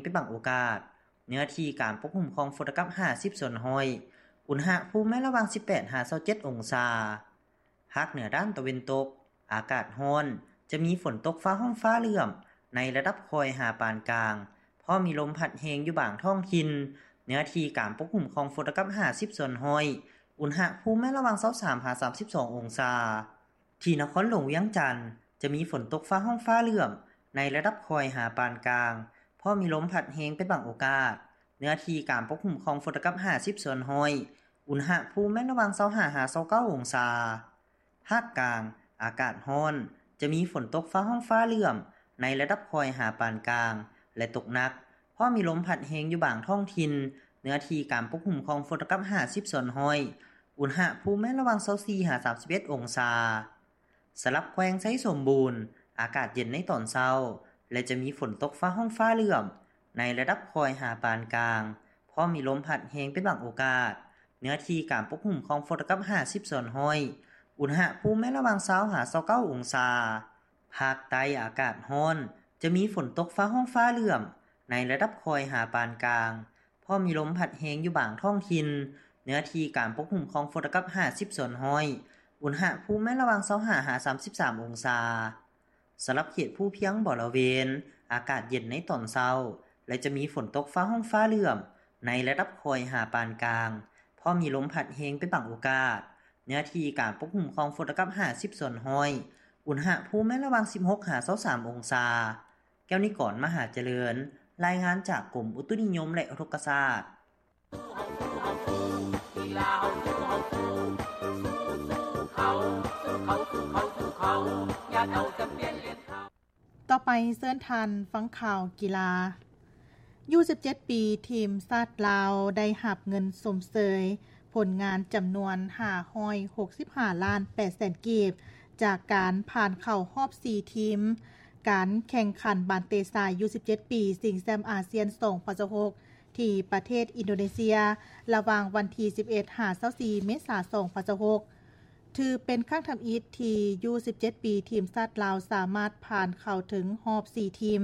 ເປັນບາງໂອກາດ. ເນື້ອທີ່ການປົກຄຸມຂອງຝົນຕົກກັບຫ້າສິບສ່ວນຮ້ອຍ, ອຸນຫະພູມແມ່ນລະຫວ່າງສິບແປດຫາຊາວເຈັດອົງສາ. ພາກເໜືອດ້ານຕາເວັນຕົກ, ອາກາດຮ້ອນ, ຈະມີຝົນຕົກຟ້າຮ້ອງຟ້າເຫຼື້ອມ ໃນລະດັບຄ່ອຍຫາປານກາງ, ພ້ອມມີລົມພັດແຮງຢູ່ບາງທ້ອງຖິ່ນ. ເນື້ອທີ່ການປົກຄຸມຂອງຝົນຕົກກັບຫ້າສິບສ່ວນຮ້ອຍ, ອຸນຫະພູມແມ່ນລະຫວ່າງຊາວສາມຫາສາມສິບສອງອົງສາ. ທີ່ນະຄອນຫຼວງວຽງຈັນ ຈະມີຝົນຕົກຟ້າຮ້ອງຟ້າເຫຼື້ອມ ໃນລະດັບຄ່ອຍຫາປານກາງ, ພ້ອມມີລົມພັດແຮງເປັນບາງໂອກາດ. ເນື້ອທີ່ການປົກຄຸມຂອງຝົນຕົກກັບຫ້າສິບສ່ວນຮ້ອຍ, ອຸນຫະພູມແມ່ນລະຫວ່າງຊາວຫ້າຫາຊາວເກົ້າອົງສາ. ພາກກາງ, ອາກາດຮ້ອນ, ຈະມີຝົນຕົກຟ້າຮ້ອງຟ້າເຫຼື້ອມ ໃນລະດັບຄ່ອຍຫາປານກາງ ແລະ ຕົກໜັກ, ພ້ອມມີລົມພັດແຮງຢູ່ບາງທ້ອງຖິ່ນ. ເນື້ອທີ່ການປົກຄຸມຂອງຝົນຕົກກັບຫ້າສິບສ່ວນຮ້ອຍ, ອຸນຫະພູມແມ່ນລະຫວ່າງຊາວສີ່ຫາສາມສິບເອັດອົງສາ. ສຳລັບແຂວງໄຊສົມບູນ, ອາກາດເຢັນໃນຕອນເຊົ້າ ແລະ ຈະມີຝົນຕົກຟ້າຮ້ອງຟ້າເຫຼື້ອມ ໃນລະດັບຄ່ອຍຫາປານກາງ, ພ້ອມມີລົມພັດແຮງເປັນບາງໂອກາດ. ເນື້ອທີ່ການປົກຄຸມຂອງຝົນຕົກກັບຫ້າສິບສ່ວນຮ້ອຍ, ອຸນຫະພູມແມ່ນລະຫວ່າງຊາວຫາຊາວເກົ້າອົງສາ. ພາກໃຕ້ອາກາດຮ້ອນ, ຈະມີຝົນຕົກຟ້າຮ້ອງຟ້າເຫຼື້ອມ ໃນລະດັບຄ່ອຍຫາປານກາງ, ພ້ອມມີລົມພັດແຮງຢູ່ບາງທ້ອງຖິ່ນ. ເນື້ອທີ່ການປົກຄຸມຂອງຝົນຕົກກັບຫ້າສິບສ່ວນຮ້ອຍ, ອຸນຫະພູມແມ່ນລະຫວ່າງຊາວຫ້າຫາສາມສິບສາມອົງສາ. ສຳລັບເຂດພູພຽງບໍລະເວນ, ອາກາດເຢັນໃນຕອນເຊົ້າ ແລະ ຈະມີຝົນຕົກຟ້າຮ້ອງຟ້າເຫຼື້ອມ ໃນລະດັບຄ່ອຍຫາປານກາງ, ພ້ອມມີລົມພັດແຮງເປັນບາງໂອກາດ. ເນື້ອທີ່ການປົກຄຸມຂອງຝົນຕົກກັບຫ້າສິບສ່ວນຮ້ອຍ, ອຸນຫະພູມແມ່ນລະຫວ່າງສິບຫົກຫາຊາວສາມອົງສາ. ແກ້ວນິກອນ ມະຫາຈະເລີນ, ລາຍງານຈາກກົມອຸຕຸນິຍົມ ແລະ ອຸທົກກະສາດ. ຕໍ່ໄປເຊີນທ່ານຟັງຂ່າວກິລາ. ຢູສິບເຈັດປີ ທີມຊາດລາວໄດ້ຮັບເງິນຊົມເຊີຍຜົນງານຈຳນວນຫ້າຮ້ອຍຫົກສິບຫ້າລ້ານແປດແສນກີບ ຈາກການຜ່ານເຂົ້າຮອບສີ່ທີມ ການແຂ່ງຂັນບານເຕະຊາຍ ຢູສິບເຈັດປີ ຊິງແຊັມອາຊຽນ ສອງພັນຊາວຫົກ ທີ່ປະເທດອິນໂດເນເຊຍ ລະຫວ່າງວັນທີສິບເອັດຫາຊາວສີ່ເມສາ ສອງພັນຊາວຫົກ. ຖືເປັນຄັ້ງທຳອິດທີ່ຢູສິບເຈັດປີ ທີມຊາດລາວສາມາດຜ່ານເຂົ້າເຖິງຮອບສີ່ທີມ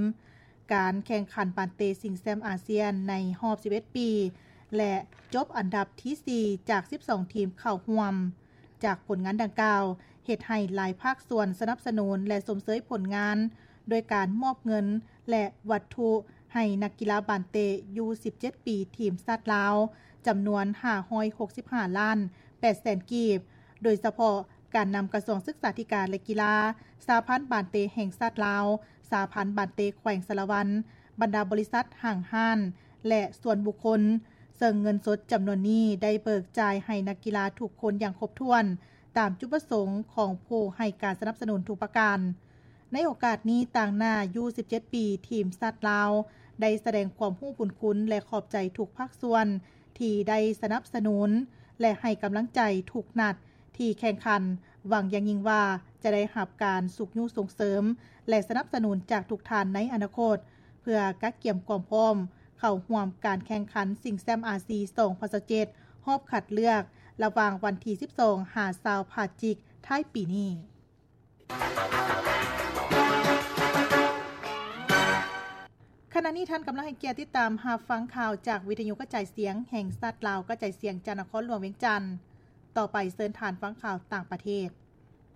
ການແຂ່ງຂັນບານເຕະຊິງແຊັມອາຊຽນໃນຮອບສິບເອັດປີ ແລະ ຈົບອັນດັບທີສີ່ຈາກສິບສອງທີມເຂົ້າຮ່ວມ. ຈາກຜົນງານດັ່ງກ່າວ ເຮັດໃຫ້ຫຼາຍພາກສ່ວນສະໜັບສະໜູນ ແລະ ຊົມເຊີຍຜົນງານ ໂດຍການມອບເງິນ ແລະ ວັດຖຸໃຫ້ນັກກິລາບານເຕະຢູສິບເຈັດປີ ທີມຊາດລາວ ຈຳນວນຫ້າຮ້ອຍຫົກສິບຫ້າລ້ານແປດແສນກີບ, ໂດຍສະເພາະການນຳກະຊວງສຶກສາທິການ ແລະ ກິລາ, ສະຫະພັນບານເຕະແຫ່ງຊາດລາວ, ສະຫະພັນບານເຕະແຂວງສາລະວັນ, ບັນດາບໍລິສັດ, ຫ້າງຮ້ານ ແລະ ສ່ວນບຸກຄົນ, ເຊິ່ງເງິນສົດຈຳນວນນີ້ໄດ້ເບີກຈ່າຍໃຫ້ນັກກິລາທຸກຄົນຢ່າງຄົບຖ້ວນ ຕາມຈຸດປະສົງຂອງຜູ້ໃຫ້ການສະໜັບສະໜູນທຸກປະການ. ໃນໂອກາດນີ້, ຕາງໜ້າຢູສິບເຈັດປີ ທີມຊາດລາວ ໄດ້ສະແດງຄວາມຮູ້ບຸນຄຸນ ແລະ ຂອບໃຈທຸກພາກສ່ວນທີ່ໄດ້ສະໜັບສະໜູນ ແລະ ໃຫ້ກຳລັງໃຈທຸກນັດທີ່ແຂ່ງຂັນ, ຫວັງຢ່າງຍິ່ງວ່າຈະໄດ້ຮັບການຊຸກຍູ້ສົ່ງເສີມ ແລະ ສະໜັບສະໜູນຈາກທຸກທ່ານໃນອະນາຄົດ ເພື່ອກະກຽມຄວາມພ້ອມເຂົ້າຮ່ວມການແຂ່ງຂັນຊິງແຊັມອາຊີ ສອງພັນຊາວເຈັດ ຮອບຄັດເລືອກ ລະຫວ່າງວັນທີສິບສອງຫາຊາວພະຈິກທ້າຍປີນີ້. ຂະນະນີ້ທ່ານກຳລັງໃຫ້ກຽດຕິດຕາມຮັບຟັງຂ່າວຈາກວິທະຍຸກະຈາຍສຽງແຫ່ງຊາດລາວ ກະຈາຍສຽງຈາກນະຄອນຫຼວງວຽງຈັນ. ຕໍ່ໄປເຊີນທ່ານຟັງຂ່າວຕ່າງປະເທດ.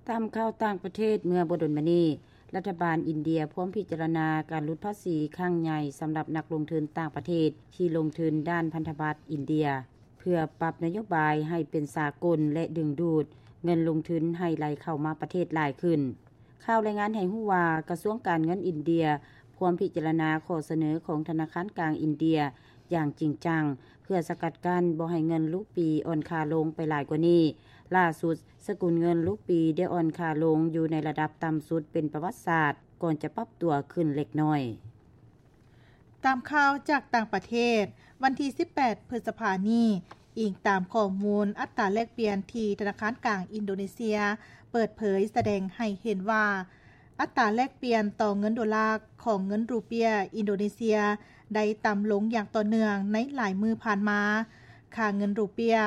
ຕາມຂ່າວຕ່າງປະເທດ, ເມື່ອບໍ່ດົນມານີ້, ລັດຖະບານອິນເດຍພວມພິຈາລະນາການຫຼຸດພາສີຄັ້ງໃຫຍ່ສຳລັບນັກລົງທຶນຕ່າງປະເທດທີ່ລົງທຶນດ້ານພັນທະບັດອິນເດຍ ເພື່ອປັບນະໂຍບາຍໃຫ້ເປັນສາກົນ ແລະ ດຶງດູດເງິນລົງທຶນໃຫ້ໄຫຼເຂົ້າມາປະເທດຫຼາຍຂຶ້ນ. ຂ່າວລາຍງານໃຫ້ຮູ້ວ່າ ກະຊວງການເງິນອິນເດຍພວມພິຈາລະນາຂໍ້ສະເໜີຂອງທະນາຄານກາງອິນເດຍຢ່າງຈິງຈັງ ເພື່ອສະກັດກັ້ນບໍ່ໃຫ້ເງິນລູກປີອ່ອນຄ່າລົງໄປຫຼາຍກວ່ານີ້. ຫຼ້າສຸດ, ສະກຸນເງິນລູກປີໄດ້ອ່ອນຄ່າລົງຢູ່ໃນລະດັບຕ່ຳສຸດເປັນປະຫວັດສາດ ກ່ອນຈະປັບຕົວຂຶ້ນເລັກນ້ອຍ. ຕາມຂ່າວຈາກຕ່າງປະເທດ, ວັນທີສິບແປດ ພຶດສະພານີ້, ອີງຕາມຂໍ້ມູນອັດຕາແລກປ່ຽນທີ່ທະນາຄານກາງອິນໂດເນເຊຍເປີດເຜີຍ ສະແດງໃຫ້ເຫັນວ່າ ອັດຕາແລກປ່ຽນຕໍ່ເງິນໂດລາຂອງເງິນຣູເປຍອິນໂດເນເຊຍໄດ້ຕ່ຳລົງຢ່າງຕໍ່ເນື່ອງໃນຫຼາຍມື້ຜ່ານມາ. ຄ່າເງິນຣູເປຍ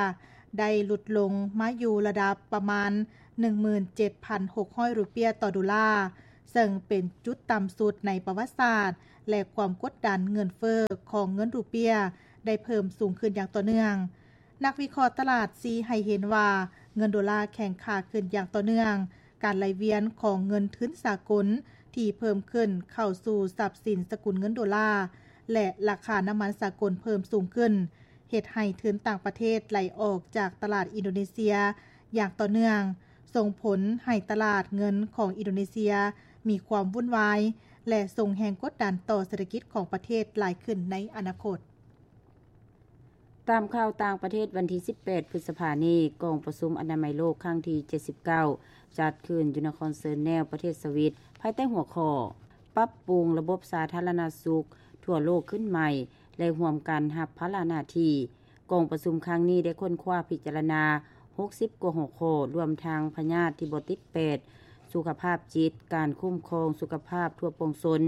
ໄດ້ຫຼຸດລົງມາຢູ່ລະດັບປະມານ ໜຶ່ງໝື່ນເຈັດພັນຫົກຮ້ອຍ ຣູເປຍຕໍ່ໂດລາ, ເຊິ່ງເປັນຈຸດຕ່ຳສຸດໃນປະຫວັດສາດ ແລະ ຄວາມກົດດັນເງິນເຟີ້ຂອງເງິນຣູເປຍໄດ້ເພີ່ມສູງຂຶ້ນຢ່າງຕໍ່ເນື່ອງ. ນັກວິເຄາະຕະຫຼາດຊີ້ໃຫ້ເຫັນວ່າ ເງິນໂດລາແຂງຄ່າຂຶ້ນຢ່າງຕໍ່ເນື່ອງ, ການໄຫຼວຽນຂອງເງິນທຶນສາກົນທີ່ເພີ່ມຂຶ້ນເຂົ້າສູ່ຊັບສິນສະກຸນເງິນໂດລາ ແລະ ລາຄານ້ຳມັນສາກົນເພີ່ມສູງຂຶ້ນ ເຮັດໃຫ້ທຶນຕ່າງປະເທດໄຫຼອອກຈາກຕະຫຼາດອິນໂດເນເຊຍຢ່າງຕໍ່ເນື່ອງ, ສົ່ງຜົນໃຫ້ຕະຫຼາດເງິນຂອງອິນໂດເນເຊຍມີຄວາມວຸ່ນວາຍ ແລະ ສົ່ງແຮງກົດດັນຕໍ່ເສດຖະກິດຂອງປະເທດຫຼາຍຂຶ້ນໃນອະນາຄົດ. ຕາມຂ່າວຕ່າງປະເທດ, ວັນທີສິບແປດ ພຶດສະພານີ້ ກອງປະຊຸມອະນາໄມໂລກຄັ້ງທີເຈັດສິບເກົ້າ ຈັດຂຶ້ນຢູ່ນະຄອນເຊີແນວ ປະເທດສະວິດ ພາຍໃຕ້ຫົວຂໍ້ ປັບປຸງລະບົບສາທາລະນະສຸກທົ່ວໂລກຂຶ້ນໃໝ່ ແລະ ຮ່ວມກັນຮັບພາລະໜ້າທີ່. ກອງປະຊຸມຄັ້ງນີ້ໄດ້ຄົ້ນຄວ້າພິຈາລະນາຫົກສິບກວ່າຫົວຂໍ້, ລວມທັງພະຍາດທີ່ບໍ່ຕິດແປດ, ສຸຂະພາບຈິດ, ການຄຸ້ມຄອງສຸຂະພາບທົ່ວປວງຊົນ,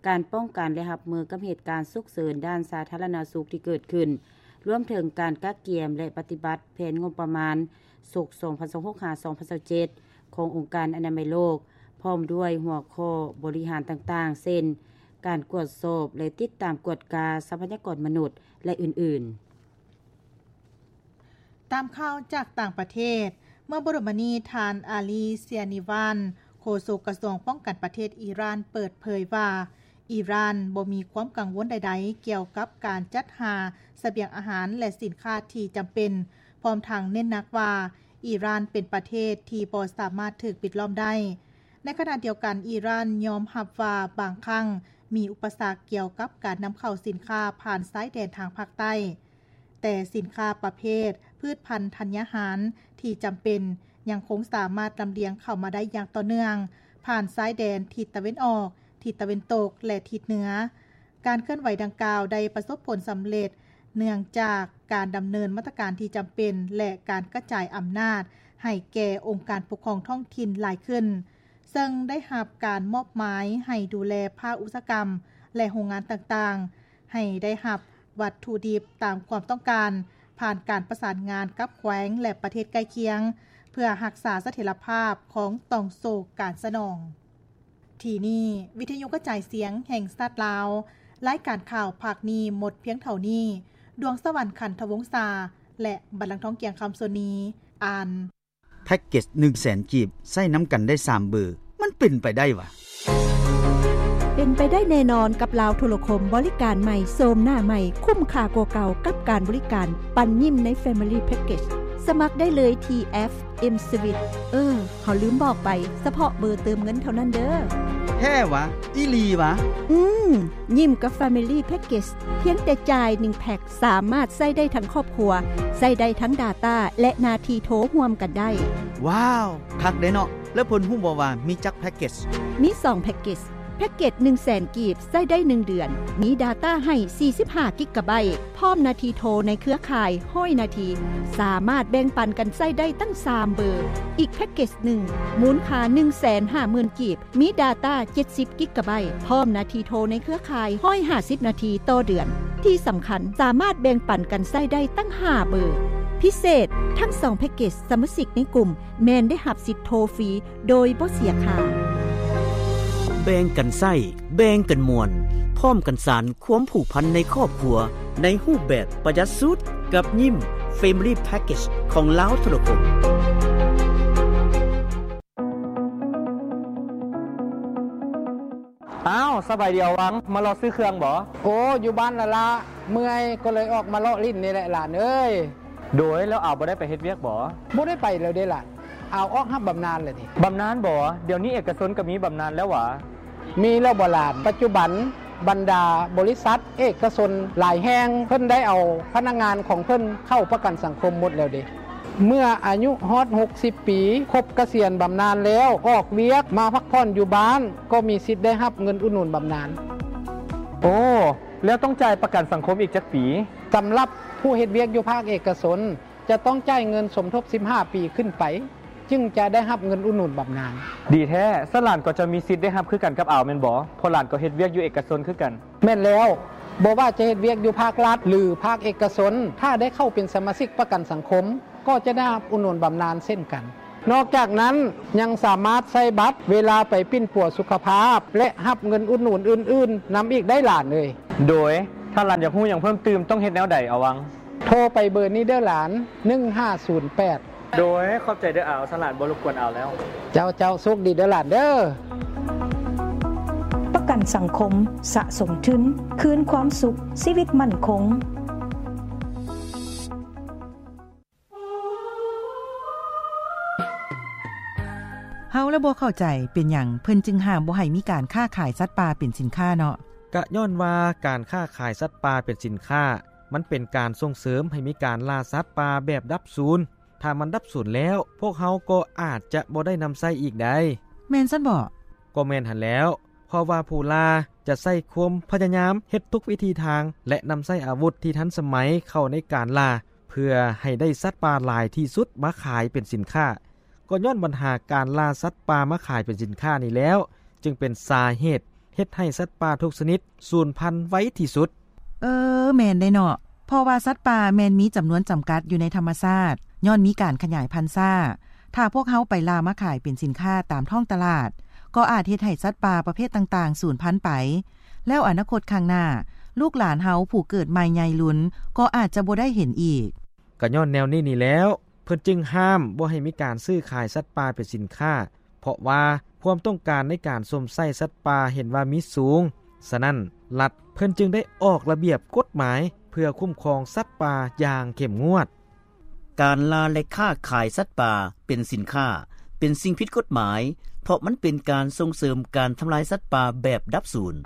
ການປ້ອງກັນ ແລະ ຮັບມືກັບເຫດການສຸກເສີນດ້ານສາທາລະນະສຸກທີ່ເກີດຂຶ້ນ, ລວມເຖິງການກະກຽມ ແລະ ປະຕິບັດແຜນງົບປະມານສົກ ສອງພັນຊາວຫົກ ຫາ ສອງພັນຊາວເຈັດ ຂອງອົງການອະນາໄມໂລກ, ພ້ອມດ້ວຍຫົວຂໍ້ບໍລິຫານຕ່າງໆ ເຊັ່ນ ການກວດສອບ ແລະ ຕິດຕາມກວດກາຊັບພະຍາກອນມະນຸດ ແລະ ອື່ນໆ. ຕາມຂ່າວຈາກຕ່າງປະເທດ, ເມື່ອບໍ່ດົນມານີ້ ທ່ານ ອາລີ ເຊຍນີວານ ໂຄສົກກະຊວງປ້ອງກັນປະເທດອີຣານ ເປີດເຜີຍວ່າ ອີຣານບໍ່ມີຄວາມກັງວົນໃດໆ ກ່ຽວກັບການຈັດຫາສະບຽງອາຫານ ແລະ ສິນຄ້າທີ່ຈຳເປັນ, ພ້ອມທັງເນັ້ນໜັກວ່າ ອີຣານເປັນປະເທດທີ່ບໍ່ສາມາດຖືກປິດລ້ອມໄດ້. ໃນຂະນະດຽວກັນ, ອີຣານຍອມຮັບວ່າບາງຄັ້ງມີອຸປະສັກກ່ຽວກັບການນຳເຂົ້າສິນຄ້າຜ່ານຊາຍແດນທາງພາກໃຕ້. ແຕ່ສິນຄ້າປະເພດພືດພັນທັນຍາຫານທີ່ຈຳເປັນຍັງຄົງສາມາດລຳລຽງເຂົ້າມາໄດ້ຢ່າງຕໍ່ເນື່ອງ ຜ່ານຊາຍແດນທິດຕາເວັນອອກ, ທິດຕາເວັນຕົກ ແລະ ທິດເໜືອ. ການເຄື່ອນໄຫວດັ່ງກ່າວໄດ້ປະສົບຜົນສຳເລັດ ເນື່ອງຈາກການດຳເນີນມາດຕະການທີ່ຈຳເປັນ ແລະ ການກະຈາຍອຳນາດໃຫ້ແກ່ອົງການປົກຄອງທ້ອງຖິ່ນຫຼາຍຂຶ້ນ, ເຊິ່ງໄດ້ຮັບການມອບໝາຍໃຫ້ດູແລພາກອຸດສາຫະກຳ ແລະ ໂຮງງານຕ່າງໆ ໃຫ້ໄດ້ຮັບວັດຖຸດິບຕາມຄວາມຕ້ອງການ ຜ່ານການປະສານງານກັບແຂວງ ແລະ ປະເທດໃກ້ຄຽງ ເພື່ອຮັກສາສະຖຽນລະພາບຂອງຕ່ອງໂສ້ການສະໜອງ. ທີ່ນີ້ ວິທະຍຸກະຈາຍສຽງແຫ່ງຊາດລາວ, ລາຍການຂ່າວພາກນີ້ໝົດພຽງເທົ່ານີ້. ດວງສະຫວັນ ຂັນທະວົງສາ ແລະ ບັນລັງທອງ ກຽງຄຳ ສ່ວນນີ້ ອ່ານ. ແພັກເກັດໜຶ່ງແສນກີບ ໃຊ້ນຳກັນໄດ້ສາມເບີ ມັນເປັນໄປໄດ້ຫວາ? ເປັນໄປໄດ້ແນ່ນອນກັບລາວໂທລະຄົມ, ບໍລິການໃໝ່, ໂສມໜ້າໃໝ່, ຄຸ້ມຄ່າກວ່າເກົ່າກັບການບໍລິການປັນຍິ້ມໃນ Family Package. ສະໝັກໄດ້ເລີຍທີ່ແອັບ M-Swiss. ເອີ ເຮົາລືມບອກໄປ, ສະເພາະເບີເຕີມເງິນເທົ່ານັ້ນເດີ. ແທ້ຫວາ? ອີ່ຫຼີຫວາ? ອືມ, ຍິ້ມກັບ Family Package ພຽງແຕ່ຈ່າຍໜຶ່ງແພັກ ສາມາດໃຊ້ໄດ້ທັງຄອບຄົວ, ໃຊ້ໄດ້ທັງ data ແລະ ໜ້າທີ່ໂທຮ່ວມກັນໄດ້. ວ້າວ, ຄັກເດ້ເນາະ. ແລ້ວເພິ່ນຮູ້ບໍ່ວ່າມີຈັກແພັກເກັດ? ມີສອງແພັກເກັດ. ແພັກເກັດໜຶ່ງແສນກີບ ໃຊ້ໄດ້ໜຶ່ງເດືອນ, ມີ data ໃຫ້ສີ່ສິບຫ້າກິກກະໄບ, ພ້ອມໜ້າທີ່ໂທໃນເຄືອຂ່າຍຮ້ອຍນາທີ, ສາມາດແບ່ງປັນກັນໃຊ້ໄດ້ຕັ້ງສາມເບີ. ອີກແພັກເກັດໜຶ່ງ ມູນຄ່າໜຶ່ງແສນຫ້າໝື່ນກີບ, ມີ data ເຈັດສິບກິກກະໄບ, ພ້ອມໜ້າທີ່ໂທໃນເຄືອຂ່າຍຮ້ອຍຫ້າສິບນາທີຕໍ່ເດືອນ. ທີ່ສຳຄັນ, ສາມາດແບ່ງປັນກັນໃຊ້ໄດ້ຕັ້ງຫ້າເບີ. ພິເສດ, ທັງສອງແພັກເກັດ, ສະມາຊິກໃນກຸ່ມແມ່ນໄດ້ຮັບສິດໂທຟຣີໂດຍບໍ່ເສຍຄ່າ. ແບ່ງກັນໃຊ້, ແບ່ງກັນມ່ວນ, ພ້ອມກັນສານຄວາມຜູກພັນໃນຄອບຄົວ ໃນຮູບແບບປະຢັດສຸດ ກັບຍິ້ມ Family Package ຂອງລາວໂທລະຄົມ. ອ້າວ, ສະບາຍດີອາວັງ, ມາເລາະຊື້ເຄື່ອງບໍ? ໂອ້, ຢູ່ບ້ານລະລະ, ເມື່ອຍກໍເລີຍອອກມາເລາະຫຼິ້ນນີ້ແຫຼະຫຼານເອີຍ. ໂດຍ, ແລ້ວອາວບໍ່ໄດ້ໄປເຮັດວຽກບໍ? ບໍ່ໄດ້ໄປແລ້ວເດ້ຫຼານ, ອາວອອກຮັບບຳນານແລ້ວນີ້. ບຳນານບໍ? ດຽວນີ້ເອກະຊົນກໍມີບຳນານແລ້ວຫວາ? ມີແລ້ວບໍຫຼານ? ປັດຈຸບັນບັນດາບໍລິສັດເອກະຊົນຫຼາຍແຫ່ງ ເພິ່ນໄດ້ເອົາພະນັກງານຂອງເພິ່ນເຂົ້າປະກັນສັງຄົມໝົດແລ້ວເດ້. ເມື່ອອາຍຸຮອດຫົກສິບປີ, ຄົບກະສຽນບຳນານແລ້ວ, ອອກວຽກມາພັກຜ່ອນຢູ່ບ້ານ, ກໍມີສິດໄດ້ຮັບເງິນອຸດໜູນບຳນານ. ໂອ້, ແລ້ວຕ້ອງຈ່າຍປະກັນສັງຄົມອີກຈັກປີ? ສຳລັບຜູ້ເຮັດວຽກຢູ່ພາກເອກະຊົນ, ຈະຕ້ອງຈ່າຍເງິນສົມທົບສິບຫ້າປີຂຶ້ນໄປ, ຈຶ່ງຈະໄດ້ຮັບເງິນອຸດໜູນບຳນານ. ດີແທ້, ຊັ້ນຫຼານກໍຈະມີສິດໄດ້ຮັບຄືກັນກັບອາວແມ່ນບໍ່? ເພາະຫຼານກໍເຮັດວຽກຢູ່ເອກະຊົນຄືກັນ. ແມ່ນແລ້ວ, ບໍ່ວ່າຈະເຮັດວຽກຢູ່ພາກລັດ ຫຼື ພາກເອກະຊົນ, ຖ້າໄດ້ເຂົ້າເປັນສະມາຊິກປະກັນສັງຄົມ, ກໍຈະໄດ້ຮັບອຸດໜູນບຳນານເຊັ່ນກັນ. ນອກຈາກນັ້ນ ຍັງສາມາດໃຊ້ບັດເວລາໄປປິ່ນປົວສຸຂະພາບ ແລະ ຮັບເງິນອຸດໜູນອື່ນໆນຳອີກໄດ້ຫຼານເອີຍ. ໂດຍ ຖ້າຫຼານຢາກຮູ້ຫຍັງເພີ່ມຕື່ມ ຕ້ອງເຮັດແນວໃດ ອາວັງ? ໂທໄປເບີນີ້ເດີຫຼານ ໜຶ່ງຫ້າສູນແປດ. ໂດຍ ຂອບໃຈເດີອາວ ສະຫຼານບໍ່ລົບກວນອາວແລ້ວ. ເຈົ້າ ເຈົ້າ ໂຊກດີເດີຫຼານເດີ. ປະກັນສັງຄົມ ສະສົມທຶນ ຄືນຄວາມສຸກ ຊີວິດໝັ້ນຄົງ. ເຮົາລະບໍ່ເຂົ້າໃຈ ເປັນຫຍັງເພິ່ນຈຶ່ງຫ້າມບໍ່ໃຫ້ມີການຄ້າຂາຍສັດປ່າເປັນສິນຄ້າເນາະ? ກະຍ້ອນວ່າການຄ້າຂາຍສັດປ່າເປັນສິນຄ້າ ມັນເປັນການສົ່ງເສີມໃຫ້ມີການລ່າສັດປ່າແບບດັບສູນ. ຖ້າມັນດັບສູນແລ້ວ ພວກເຮົາກໍອາດຈະບໍ່ໄດ້ນຳໃຊ້ອີກໄດ໋. ແມ່ນຊັ້ນບໍ? ກໍແມ່ນຫັ້ນແລ້ວ ເພາະວ່າຜູ້ລ່າຈະໃຊ້ຄວາມພະຍາຍາມເຮັດທຸກວິທີທາງ ແລະ ນຳໃຊ້ອາວຸດທີ່ທັນສະໄໝເຂົ້າໃນການລ່າ ເພື່ອໃຫ້ໄດ້ສັດປ່າຫຼາຍທີ່ສຸດມາຂາຍເປັນສິນຄ້າ. ກໍຍ້ອນບັນຫາການລ່າສັດປ່າມາຂາຍເປັນສິນຄ້ານີ້ແລ້ວ ຈຶ່ງເປັນສາເຫດເຮັດໃຫ້ສັດປ່າທຸກຊະນິດສູນພັນໄວທີ່ສຸດ. ເອີ ແມ່ນເດ້ເນາະ ເພາະວ່າສັດປ່າແມ່ນມີຈຳນວນຈຳກັດຢູ່ໃນທຳມະຊາດ ຍ້ອນມີການຂະຫຍາຍພັນຊ້າ. ຖ້າພວກເຮົາໄປລ່າມາຂາຍເປັນສິນຄ້າຕາມທ້ອງຕະຫຼາດ ກໍອາດເຮັດໃຫ້ສັດປ່າປະເພດຕ່າງໆສູນພັນໄປ ແລ້ວອະນາຄົດຂ້າງໜ້າ ລູກຫຼານເຮົາຜູ້ເກີດໃໝ່ໃຫຍ່ລຸນ ກໍອາດຈະບໍ່ໄດ້ເຫັນອີກ. ກໍຍ້ອນແນວນີ້ນີ້ແລ້ວ ເພິ່ນຈຶ່ງຫ້າມບໍ່ໃຫ້ມີການຊື້ຂາຍສັດປ່າເປັນສິນຄ້າ ເພາະວ່າຄວາມຕ້ອງການໃນການຊົມໃຊ້ສັດປ່າເຫັນວ່າມີສູງ. ສະນັ້ນ ລັດເພິ່ນຈຶ່ງໄດ້ອອກລະບຽບກົດໝາຍເພື່ອຄຸ້ມຄອງສັດປ່າຢ່າງເຂັ້ມງວດ. ການລ່າ ແລະ ຄ້າຂາຍສັດປ່າເປັນສິນຄ້າ ເປັນສິ່ງຜິດກົດໝາຍ ເພາະມັນເປັນການສົ່ງເສີມການທຳລາຍສັດປ່າແບບດັບສູນ.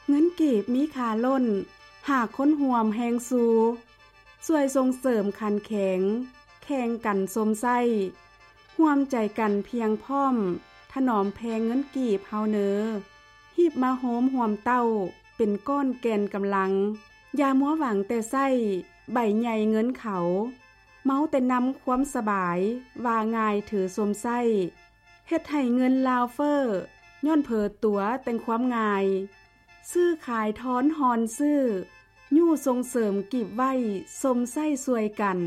ເງິນກີບມີຄ່າລົ້ນ ຫາກຄົນຮ່ວມແຮງຊູ່ ຊ່ວຍສົ່ງເສີມຂັນແຂງ ແຂ່ງກັນຊົມໃຊ້ ຮ່ວມໃຈກັນພຽງພ້ອມ ຖະໜອມແພງເງິນກີບເຮົາເນີ ຮີບມາໂຮມຮ່ວມເຕົ້າ ເປັນກ້ອນແກ່ນກຳລັງ ຢ່າມົວຫວັງແຕ່ໃຊ້ ໃບໃຫຍ່ເງິນເຂົາ ເມົາແຕ່ນຳຄວາມສະບາຍ ວ່າງ່າຍຖືຊົມໃຊ້ ເຮັດໃຫ້ເງິນລາວເຟີ້ ຍ້ອນເຜີຕົວແຕ່ງຄວາມງ່າຍ ຊື້ຂາຍທອນຮອນຊື້ ຍູ້ສົ່ງເສີມກີບໄວ້ຊົມໃຊ້ຊ່ວຍກັນ.